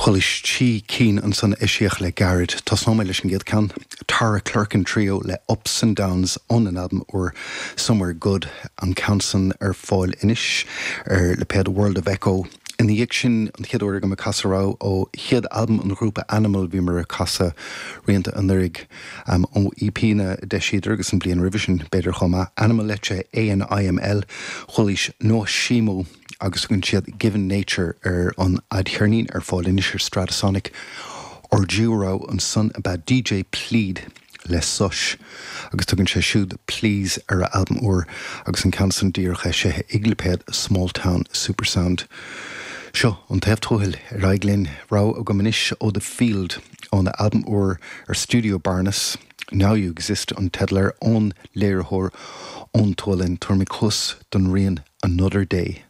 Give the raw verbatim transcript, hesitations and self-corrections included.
Chualaís trí cinn ansan eisíodh le gairid. Tosnóidh mé leis an gcéad ceann, Tara Clerkin Trio le Ups and Downs óna n-albam úr Somewhere Good, an ceann san ar fáil anois ar lipéad World of Echo. Ina dhiaidh sin, an chéad uair agam ag casadh rogha ó chéad albam an ghrúpa Animal, bhíomar ag casadh rianta anuraidh ó EPnna a d'eisíodar agus an bhliain roimhe sin b'fhéidir chomh maith, Animal Leite, A N I M L, chualaís Noshimo agus tugann siad Given Nature ar an fhadcheirnín ar fáil anois ar Stratosonic. Ár dtríú rogha ansan ab ea D J Plead le Sush agus tugann sé siúd Please ar a albam úr agus an ceann san díreach eisithe ag lipéad Smalltown Supersound. Seo an taobh tuathail ar aghaidh linn, rogha agam anois ó The Field óna albam úr ar Studio Barnes. Now You Exist an teideal air, ón léiritheoir ón tSualainn. Tabharfaidh muid cluas don rian Another Day.